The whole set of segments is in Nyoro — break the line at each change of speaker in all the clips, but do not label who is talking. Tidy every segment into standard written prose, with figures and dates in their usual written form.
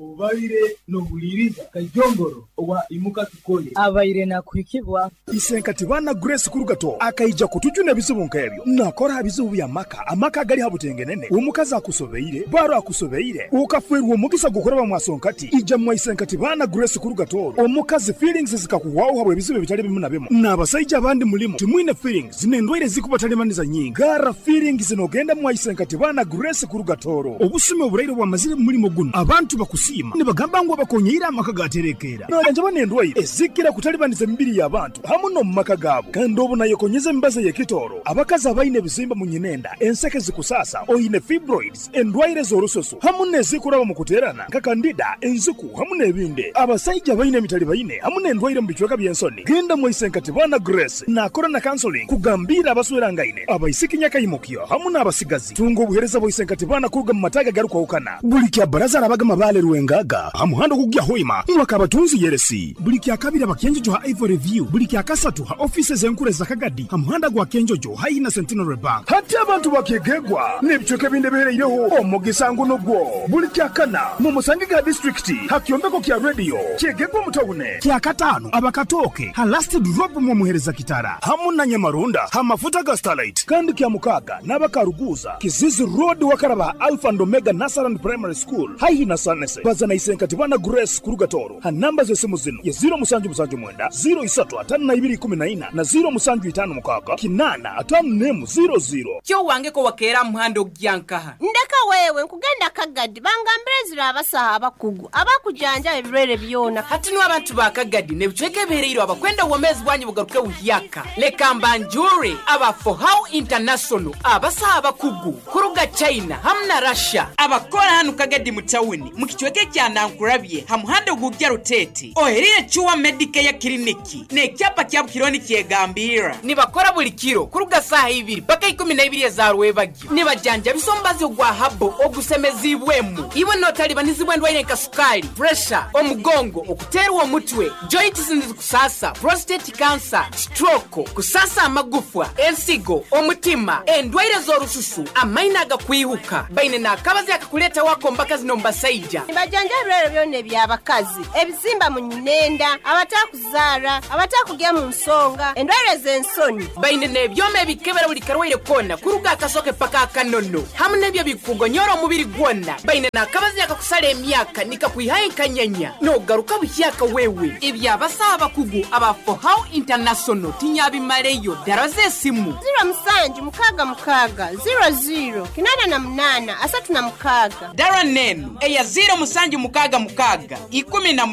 Obaire nohuliriza Kajongoro owa Imuka Tukole.
Abaire nakuhikibwa.
Isenkati baana Grace kuruga Toro akaija kutujuna ebizibu nk'ebyo. Nakora ha bizibu by'amaka, amaka agali ha butengenene, omukazi akusobeire, baro akusobeire, okafeerwa omugisa gw'okuraba mwa Sonkati, ija mwa Isenkati baana Grace kuruga Toro, omukazi feelings zikakuhwaho habw'ebizibu ebitali bimu na bimu. N'abasaija abandi mulimu timwine feelings n'endwaire ezikubatalibaniza nyingi. Garra feelings nogenda mwa Isenkati baana Grace kuruga Toro. Obusumi oburaire obwamazire mu mulimo gunu, abantu bakusiima nibagamba ngu abakonyeire amaka gaterekeera. Najanjaba n'endwaire ezikira kutalibaniza emibiri y'abantu hamu n'omu maka gaabo. Kandi obu nayekonyeza emibazi ey'ekitooro, abakazi abaine ebizimba mu nyinenda, enseke zikusaasa, oine fibroids, endwaire z'orususu hamu n'ezikuraba mu kuteerana nka kandida, enziku hamu n'ebindi. Abasaija abaine emitalibaine hamu n'endwaire mu bicweka by'ensoni, genda mwaise Nkatibana Grace naakora na counseling kugambiira abaswerangaine, abaisiki nyakaimukyo hamu n'abasigazi. Tunga obuheereza bwa Isenkatibana kuruga mu mataagi agarukwahukana. Buli kya Baraza arabaga Mabaale Rwengaga ha muhanda ogukugya Hoima mwaka Abatunzi Yeresi. Buli kya Kabiri aba Kyenjojo ha Ivory View. Buli kya Kasatu ha ofiisi ez'enkuru eza Kagadi ha muhanda gwa Kyenjojo haihi na Centenary Bank. Hati abantu ba Kyegegwa n'ebicweka ebindi ebihereireho omugisa ngu nugwo. Buli kya Kana mumusangege ha disiturikiti ha kyombeko kya Radio Kyegegwa omu tawuni. Kya Kataano aba Katooke ha Last Drop mwomuhereza Kitara hamu na Nyamarunda ha mafuta ga Starlight. Kandi kya Mukaaga n'aba Karuguuza, Kizizi Road wakaraba ha Alpha and Omega Nursery and Primary School haihi na Sanese. Baza na Isenkati Bana Grace kuruga Tooro ha namba z'esimu zinu ye 0779 03 52 14 na 0756 8 51 00.
Kyo wange ko wakeera aha muhanda ogugya nkaha?
Ndeka wewe, nkugenda Kagadi bangambire ezira abasaho abakugu abakujanjaba ebirwaire byona.
Hati nu abantu ba Kagadi n'ebicweka ebihereirwe abakwenda obwomeezi bwanyu bugaruke buhyaka, leka mbanjurre aba Fohow International, abasaho abakugu kuruga China hamu na Russia, abakora hanu Kagadi mu tawuni mu kicweka ekya Nankurabye ha muhanda ogugya Ruteete ohereire Cure Medicare Clinic n'ekyapa kyabu kiriho nikyegambirra. Nibakora buli kiro kuruga saaha ibiri paka ikumi na ibiri eza rwebagyo. Nibajanjabisa omubazi ogwa habo ogusemeziibwemu. Iwe notalibanizibwa endwaire nka sukaali, puresha, omugongo, okuteerwa omutwe, joints nizikusaasa, prostate cancer, stroke, kusaasa amagufwa, ensigo, omutima, endwaire z'orususu, amaino agakwihuka. Baine n'akabazi akakuleetaho ak'omu bakazi n'omu basaija.
Nibajanjaba ebirwaire byona eby'abakazi, ebizimba mu nyinenda, abatakuzaara, abatakugya mu nsonga, endwaire z'ensoni.
Baine n'ebyoma ebikebera buli karwaire koona kuruga aha kasoke paka aha kanono hamu n'ebyo ebikukugonyora omubiri gwona. Baine n'akabazi akakusara emyaka nikakwihaho enkanyanya n'ogaruka buhyaka wewe. Eby'abasaho abakugu aba Fohow International tinyabimaleyo. Daraza esimu.
Ziro musanju mukaaga mukaaga, ziro ziro, 88 36.
Dara n'enu eya ziiro musanju mukaaga mukaaga, 18,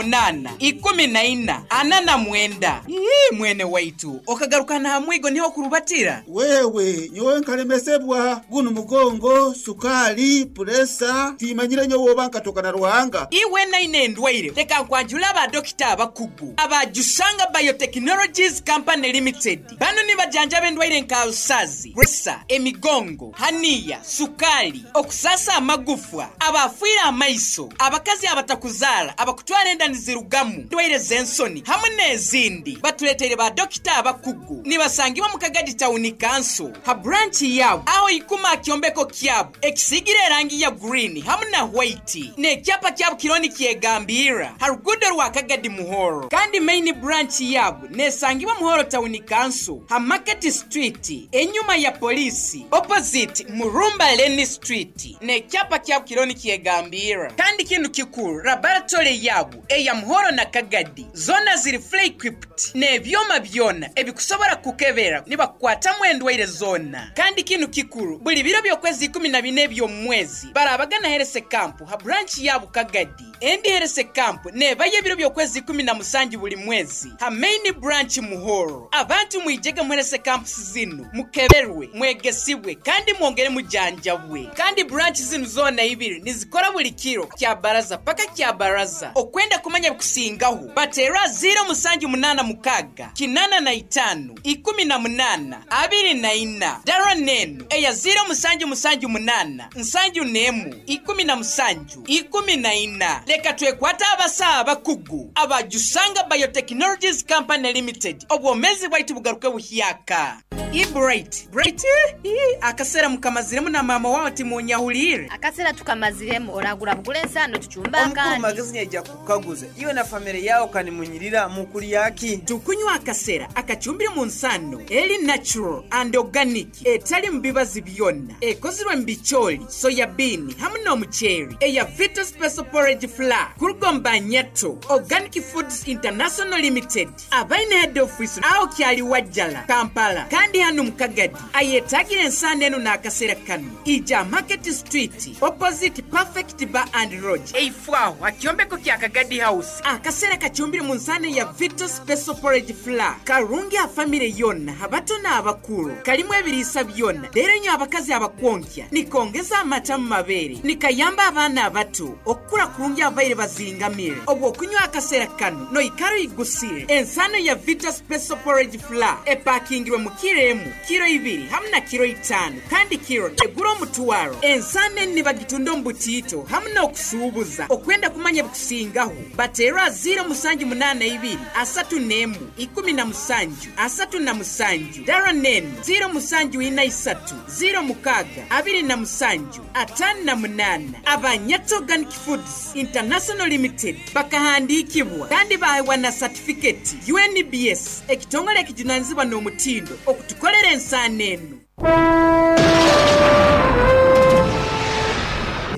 14, 49. Ii, mwene waitu, okagaruka n'aha mwigo niho okurubatira?
Wewe, nyowe nkalemesebwa gunu mugongo, sukaali, puresa, timanyire nyowe oba nkatoka na Ruhanga.
Iwe naine endwaire, leka nkwanjule aba dokita abakugu aba Jusanga Biotechnologies Company Limited. Banu nibajanjaba endwaire nka alusazi, puresa, emigongo, haniya, sukaali, okusaasa amagufwa, abaafiire amaiso, abakazi abatakuzaara, abakutwara enda nizirugamu, endwaire z'ensoni hamu n'ezindi. Batuleteire ba dokita abakugu. Nibasangibwa mu Kagadi Tawuni Kanso ha buranchi yaabo aho ikuma aha kyombeko kyabo ekisiigire erangi ya gurini hamu na hwaiti n'ekyapa kyabo kiriho nikyegambirra ha ruguudo rwa Kagadi Muhoro. Kandi maini buranchi yaabo Nesangibwa Muhoro Tawuni Kanso ha Market Street enyuma ya Poliisi opposite Murumba Lane Street n'ekyapa kyabu kiriho nikyegambirra. Kandi kinu kikuru laboratory yabu eya Muhoro na Kagadi zona ziri fully equipped n'ebyoma byona ebikusobora kukebera nibakukwatamu endwaire zona. Kandi kinu kikuru buli biro by'okwezi 14 eby'omumwezi barabaga na Health Camp ha branch yabu Kagadi. Endi Herese Camp nebayo ebiro by'okwezi 17 buli mwezi ha Main Branch Muhoro. Abantu mwijege mu Herese Camps zinu mukeberwe, mwegesibwe kandi mwongere mujanjabwe. Kandi branch zinu zoona ibiri nizikora buli kiro kya baraza paka kya baraza. Okwenda kumanya ebikusingaho bateere aha 0786 85 18 24. Dara n'enu eya 0778 71 17. 14. Leka twekwate abasawo abakugu aba Jusanga Biotechnologies Company Limited obwomeezi bwaitu bugaruke buhyaka. I Bright, Bright, ii, akaseera mukamaziremu na maama waawe timunyahuliire.
Akaseera tukamaziremu oragura bugura ensaano tucumbe
Omukuru
akandi.
Magezi nyaija kukukaguza iwe na famire yawe kanimunyirira mukulyaki?
Tukunywa akasera akacumbire mu nsano eri natural and organic etali mu bibazi byonna ekozirwe mu bicooli, soya bean hamu n'omuceeri eya Vita Special Porridge Flour kuruga Nyato Organic Foods International Limited abaine head office aho kyali Wajjala Kampala kandi hano mu Kagadi ayetagira ensano eno n'akaseera kano ija Market Street opposite Perfect Bar and Lodge eifwaho akyombeko kya Kagadi House. Akaseera kacumbire mu nsano ya Vita Special Porridge Flour karungi afamire yonna abato n'abakulu kalimu ebiriisa byonna leero nyo abakazi abakwonkya nikongeza amata mu mabeere nikayamba abaana abato okukula kurungi abaire bazingamire obwo okunywa akaseera kano noikara oyigusire. Ensano ya Vita Special Porridge Flour epakingirwe mu kiro emu, kiro ibiri hamu na kiro itaano kandi kiro egura omutwaro. Ensano eni nibagitunda omu butiito hamu n'okusuubuza. Okwenda kumanya bikusingaho bateerwa 0782 31 17 37 dara nenu 0743 06 27 58. Abanyato Organic Foods International Limited bakahandiikibwa kandi baheebwa na satifiketi UNBS ekitongole ekijunanizibwa n'omutindo okutukolera ensaano eno.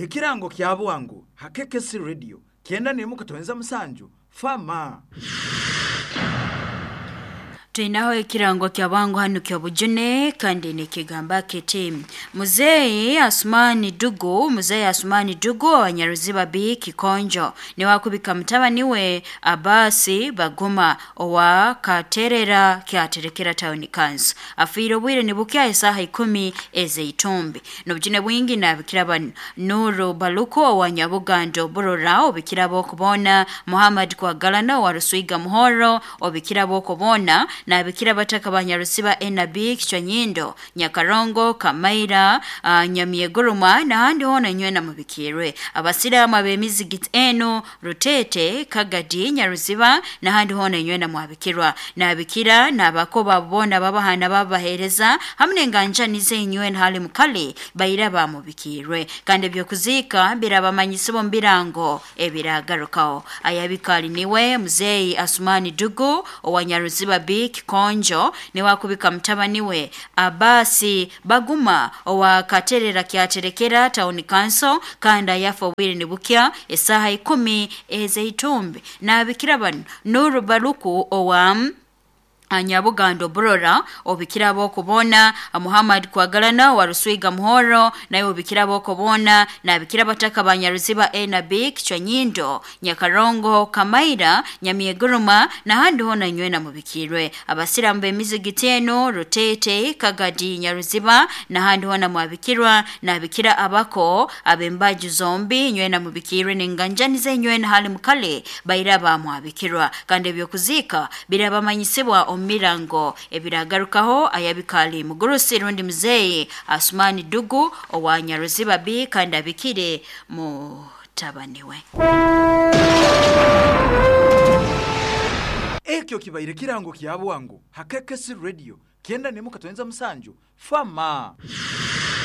Ekirango kya bwangu hakekesi radio 91.7 fama.
Tuinaho ekirango kya bwangu hano kya bujune kandi nikigamba kiti Muzei Asumani Dugu, Muzei Asumani Dugu wa Nyaruziba B Kikonjo ni wakubika mutabani we Abasi Baguma owa Katerera kyaterekera Town Council. Afiire obwire nibukya esaha 10 ezeitumbi. Nobujune bwingi nabikira bano Nuru Baluko owa Nyabugando Burora obikira bokubona, Muhammad Kwagalana wa Ruswiga Muhoro obikira bokubona, nabikira bataka banyarusiba NB Kichwanyindo Nyakarongo Kamaira Nyamieguruma na handi hona nywena mubikirwe. Abasiramu ab'emizigiti eno Rutete Kagadi Nyaruziba na handi hona nywena mwabikirwa. Nabikira nabakoba bona babahana babahereza hamwe n'enganjani zenywe hali mukali baira bamubikirwe. Kandi ebyokuzika birabamanyisibo mbirango ebiragarukaho. Ayabikali niwe Muzei Asumani Dugu owa Nyaruziba B Kikonjo ni wakubika mutabani we Abasi Baguma owa Katerera kyaterekera Town Council kandi ayafa obwire nibukya esaha 10 ezeitumbi. Nabikira bano Nuru Baluku owa Nyabugando Burora obikira bokubona, Muhammad Kwagalana wa Ruswiga Muhoro naye obikira bokubona, nabikira bataka banyaruziba A na B Kichwanyindo Nyakarongo Kamaira Nyamieguruma na handi hona nywena mubikirwe. Abasiramu b'emizigiti eno Rutete Kagadi Nyaruziba na handi hona mwabikirwa. Nabikira abako abembaju zombi nywena mubikirwe n'enganjani zenywena hali mukale bairaba mwabikirwa. Kandi ebyokuzika birabamanyisibwa omirango ebiragarukaho. Ayabikali mugurusi rundi Muzei Asumani Dugu owa Nyaruziba B kandi abikire mutabaniwe.
Ekyo kibaire kirango kya bwangu hakekesi radio 91.7 fama.